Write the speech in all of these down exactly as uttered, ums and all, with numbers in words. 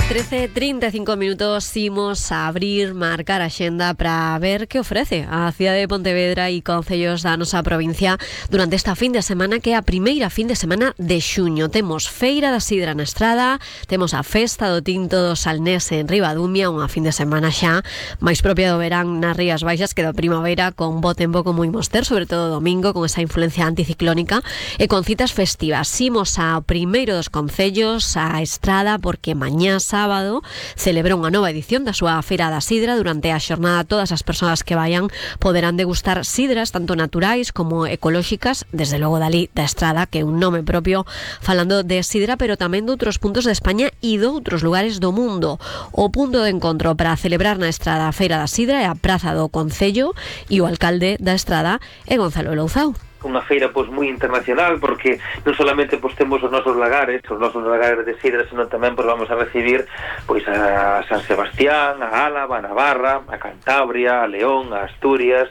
trece e trinta e cinco minutos, imos a abrir, marcar a xenda para ver que ofrece a cidade de Pontevedra e concellos da nosa provincia durante esta fin de semana, que é a primeira fin de semana de xuño. Temos Feira da Sidra na Estrada, temos a Festa do Tinto do Salnés en Ribadumia, unha fin de semana xa máis propia do verán nas Rías Baixas que da primavera, con bo tempo como imos ter, sobre todo domingo, con esa influencia anticiclónica e con citas festivas. Imos ao primeiro dos concellos, a Estrada, porque mañá sábado celebra unha nova edición da súa Feira da Sidra. Durante a xornada todas as persoas que vayan poderán degustar sidras tanto naturais como ecolóxicas, desde logo dali da Estrada, que é un nome propio falando de sidra, pero tamén de outros puntos de España e de outros lugares do mundo. O punto de encontro para celebrar na Estrada a Feira da Sidra é a Praza do Concello, e o alcalde da Estrada é Gonzalo Louzao. Unha feira pois moi internacional, porque non solamente pois temos os nosos lagares, os nosos lagares de sidra, senón tamén pois vamos a recibir pois a San Sebastián, a Álava, a Navarra, a Cantabria, a León, a Asturias,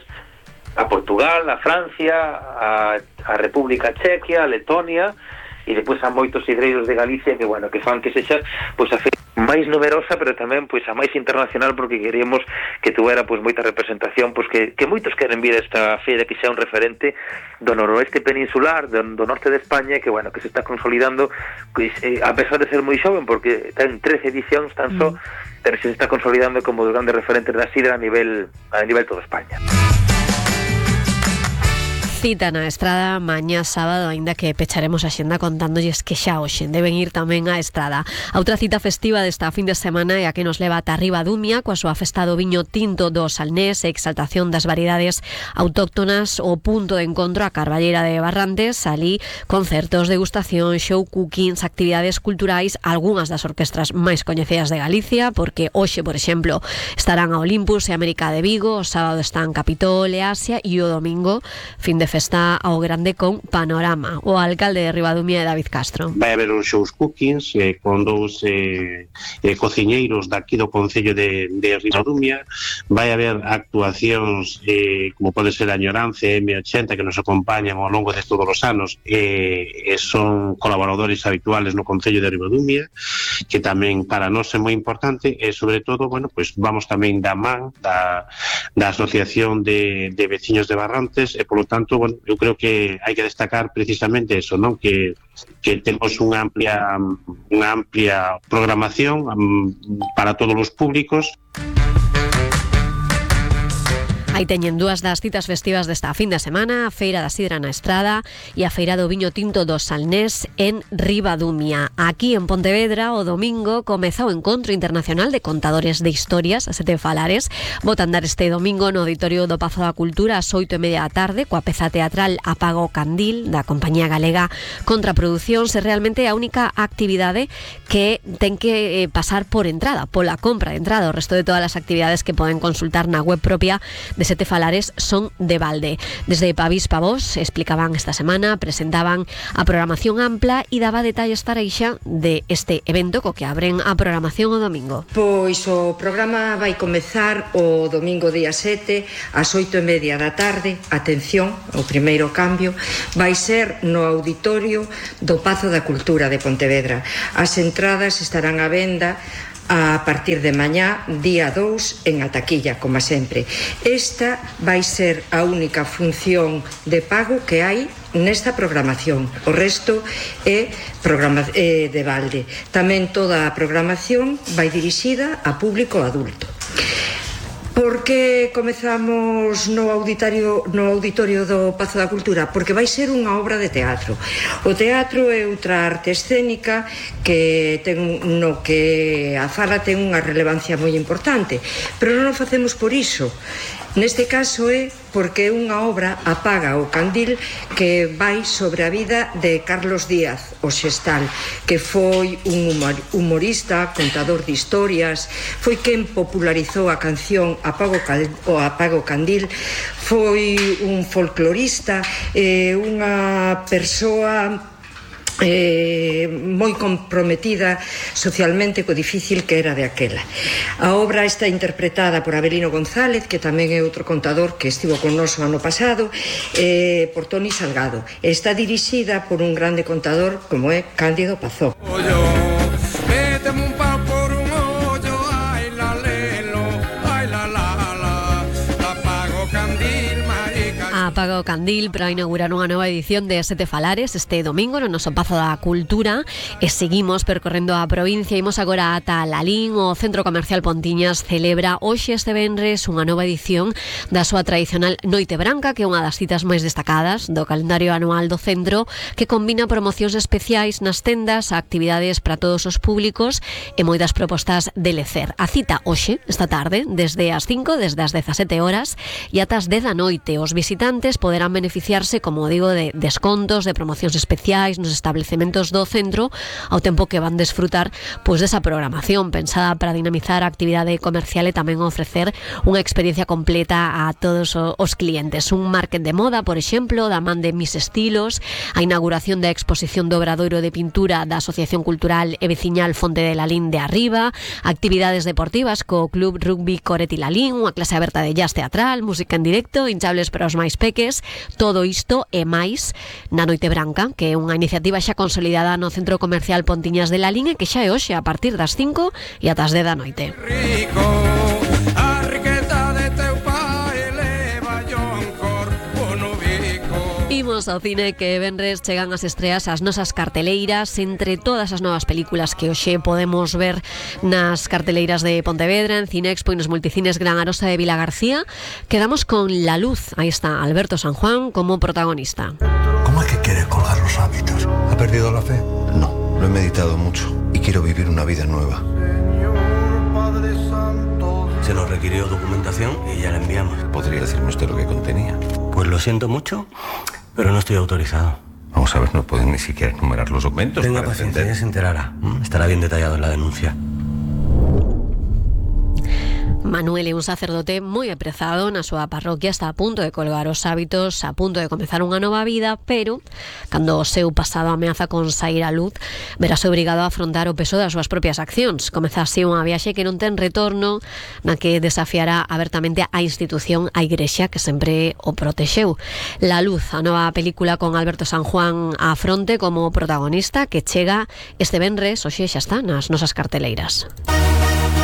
a Portugal, a Francia, a, a República Chequia, a Letonia, e depois a moitos sidreiros de Galicia que, bueno, que fan que sexa pois a feira máis numerosa, pero tamén pois a máis internacional, porque queríamos que tuvera pois moita representación, pois que, que moitos queren vir a esta feira, que xa un referente do noroeste peninsular, do, do norte de España, que, bueno, que se está consolidando, pois, eh, a pesar de ser moi xoven, porque ten trece edicións tan só, mm. pero se está consolidando como dos grandes referentes da sidra a nivel a nivel toda España. Cita na Estrada mañá sábado, aínda que pecharemos a xenda contándolles que xa hoxe deben ir tamén á Estrada. A outra cita festiva desta fin de semana é a que nos leva ata Ribadumia, coa súa festa do viño tinto do Salnés e exaltación das variedades autóctonas. O punto de encontro a Carballera de Barrantes, ali concertos, degustación, show cookings, actividades culturais, algunhas das orquestras máis coñecidas de Galicia, porque hoxe, por exemplo, estarán a Olympus e América de Vigo, o sábado están Capitol e Asia, e o domingo, fin de festa ao grande con Panorama. O alcalde de Ribadumia é David Castro. Vai haber uns shows cookings eh, con dous eh, eh, cociñeiros daqui do Concello de, de Ribadumia. Vai haber actuacións eh, como pode ser a Añoranza e eme ochenta, que nos acompañan ao longo de todos os anos, eh, e son colaboradores habituales no Concello de Ribadumia, que tamén para nós é moi importante, e sobre todo, bueno, pues vamos tamén da man da, da Asociación de, de Veciños de Barrantes, e polo tanto, bueno, eu creo que hai que destacar precisamente eso, non? Que, que temos unha amplia unha amplia programación um, para todos os públicos. Aí teñen dúas das citas festivas desta fin de semana, a Feira da Sidra na Estrada e a Feira do Viño Tinto do Salnés en Ribadumia. Aquí en Pontevedra, o domingo, comeza o Encontro Internacional de Contadores de Historias, a Sete Falares. Bota andar este domingo no Auditorio do Pazo da Cultura ás oito e media da tarde, coa peza teatral Apago o Candil, da compañía galega Contraproducións. É realmente a única actividade que ten que eh, pasar por entrada, pola compra de entrada. O resto de todas as actividades que poden consultar na web propia de Sete Falares son de balde. Desde Pavís Pavós explicaban esta semana, presentaban a programación ampla e daba detalles tareixa de este evento co que abren a programación o domingo. Pois o programa vai comezar o domingo día sete ás oito e media da tarde. Atención, o primeiro cambio vai ser no Auditorio do Pazo da Cultura de Pontevedra. As entradas estarán á venda a partir de mañá, día dous, en a taquilla, como sempre. Esta vai ser a única función de pago que hai nesta programación. O resto é programa, eh, de balde. Tamén toda a programación vai dirixida a público adulto. Por que comezamos no auditorio, no auditorio do Pazo da Cultura? Porque vai ser unha obra de teatro. O teatro é outra arte escénica que ten, no que a fala ten unha relevancia moi importante, pero non o facemos por iso. Neste caso é porque é unha obra, Apaga o Candil, que vai sobre a vida de Carlos Díaz, o Xestal, que foi un humorista, contador de historias, foi quen popularizou a canción Apago o Apago Candil, foi un folclorista, eh, unha persoa eh, moi comprometida socialmente co difícil que era de aquela. A obra está interpretada por Abelino González, que tamén é outro contador que estivo con nos o ano pasado, eh, por Toni Salgado. Está dirixida por un grande contador como é Cándido Pazó. Méteme un pau por un apaga o candil para inaugurar unha nova edición de Sete Falares este domingo no noso Pazo da Cultura e seguimos percorrendo a provincia. Imos agora ata Lalín. O Centro Comercial Pontiñas celebra hoxe este venres unha nova edición da súa tradicional Noite Branca, que é unha das citas máis destacadas do calendario anual do centro, que combina promocións especiais nas tendas, actividades para todos os públicos e moitas propostas de lecer. A cita hoxe, esta tarde, desde as cinco, desde as dezasete horas e ata as dez da noite. Os visitantes poderán beneficiarse, como digo, de descontos, de promocións especiais nos establecementos do centro, ao tempo que van desfrutar pois desa programación pensada para dinamizar a actividade comercial e tamén ofrecer unha experiencia completa a todos os clientes. Un market de moda, por exemplo, da man de Mis Estilos, a inauguración da exposición do Obradoiro de Pintura da Asociación Cultural e Veciñal Fonte de Lalín de Arriba, actividades deportivas co Club Rugby Coreti Lalín, unha clase aberta de jazz teatral, música en directo, hinchables para os máis peques. Todo isto e máis na Noite Branca, que é unha iniciativa xa consolidada no Centro Comercial Pontiñas de Lalín e que xa é hoxe a partir das cinco e ata as dez da noite. Rico, a riqueza de teu pai eleva yon corpo no bico. Imos ao cine, que venres chegan as estreas as nosas carteleiras. Entre todas as novas películas que hoxe podemos ver nas carteleiras de Pontevedra, en Cinexpo e nos multicines Gran Arosa de Vilagarcía, quedamos con La Luz. Aí está Alberto San Juan como protagonista. ¿Cómo es que quiere colgar los hábitos? ¿Ha perdido la fe? No, lo he meditado mucho y quiero vivir una vida nueva. Se nos requirió documentación y ya la enviamos. ¿Podría decirme usted lo que contenía? Pues lo siento mucho, pero no estoy autorizado. Vamos a ver, no pueden ni siquiera enumerar los documentos. Tenga paciencia, ya se enterará. Estará bien detallado en la denuncia. Manuel é un sacerdote moi aprezado na súa parroquia, está a punto de colgar os hábitos, a punto de comezar unha nova vida, pero cando o seu pasado ameaza con sair á luz, verase obrigado a afrontar o peso das súas propias accións. Comeza así unha viaxe que non ten retorno, na que desafiará abertamente a institución, a Igrexa, que sempre o protexeu. La Luz, a nova película con Alberto San Juan á fronte como protagonista, que chega este venres, hoxe xa está nas nosas carteleiras.